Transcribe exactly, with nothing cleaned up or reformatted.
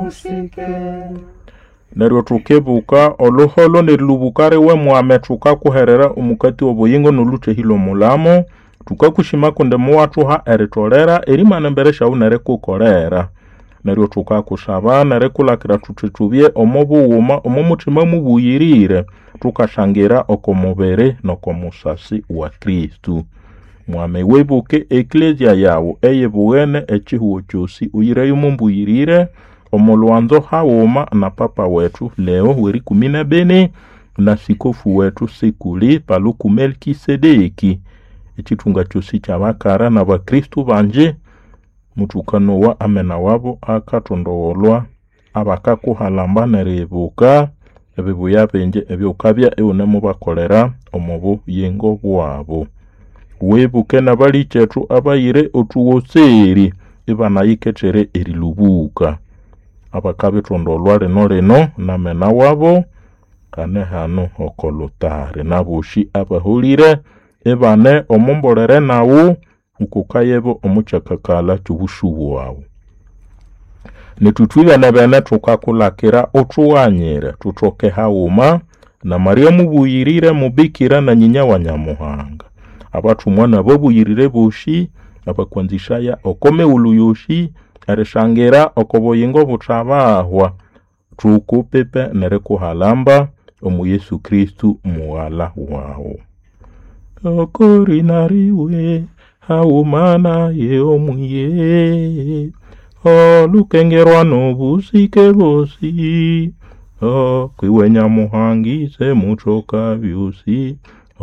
Musike. Neryo tukibuka oluholo n'erilubuka riwe mwame tukakuherera omukati w'obuyingo n'oluthehi lw'omulamo. Tukakushima kundi muwathuha eritolera erimana embere syawu nerikukolera. Neryo tukakusaba nerikulakira thuthi tubye omo bughuma omo muthima mubuyirire tukashangira oko mubiri n'oko musasi wa Kristu. Mwame wibuke eklezia yawu eyibughene ekihugho kyosi uyireyo mumbuyirire omo lwanzo haghuma na papa wethu Leo w'erikumi n'ebini na sikofu wethu Sikuli Paluku Melkisedeki ekithunga kyosi ky'abakara n'abakristu bangi muthukanowa amena wabo akatondogholwa abakakuhalamba n'eribuka ebibuya bingi eby'ghukabya ighunimubakolera omo buyingo bwabo. Wibuke n'abalikethu abayire othughoseri ibanayikethere erilubuka abakabithondolwa lino lino n'amena wabo hane hano oko lutari n'abosi abaholire ibane omo mbolere nawu ngukukayebo omo kyakakalha ky'obusu bwawu. Nethu ithwe bene thukakulakira uthughanyire thuthoke haghuma na Maria mubuyirire mubikira na nyinya wa Nyamuhanga abathumwa n'ababuyirire bosi abakwanzisaya oko mighulhu yosi erishangira oko buyingo buthabahwa thukupipe nerikuhalamba omu Yesu Kristu mughala wawu. Okorina riwe haghuma naye omwiye olukengerwa n'obusike bosi okwiwe Nyamuhanga ise muthoka byosi